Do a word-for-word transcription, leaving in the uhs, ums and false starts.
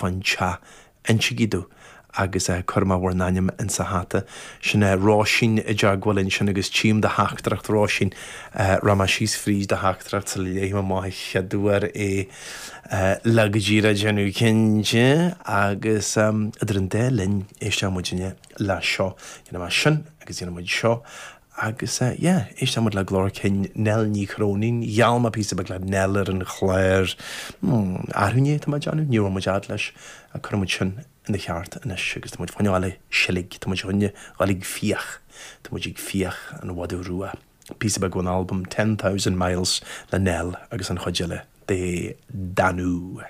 fán teach, insígí domh agus cuirfidh mé bhur n-ainm insa hata. Sin é Róisín i dteagmháil ansin agus tchím do theachtaireacht Róisín. Rachaidh mé síos fríd do theachtaireacht sula léifidh mé amach an chéad uair é le go díreach déanamh cinnte agus idir an dá linn éistfidh muidinne le seo. Déanfaidh mé sin agus déanfaidh muid seo agus yeah, éistfidh muid le glór cinn Nell Ní Chróinín. Gheall mé píosa beag le Nell ar an chlár hmm, arú inné tá mé ag déanamh, ní raibh muid fhad leis a cuirfidh muid sin ina cheart anois agus tá muid fá choinne seilg, tá muid chun dul ag fiach, tá muid ag fiach an mhadadh rua. Píosa beag ón albam Ten Thousand Miles le Nell agus an chuid eile de Danú.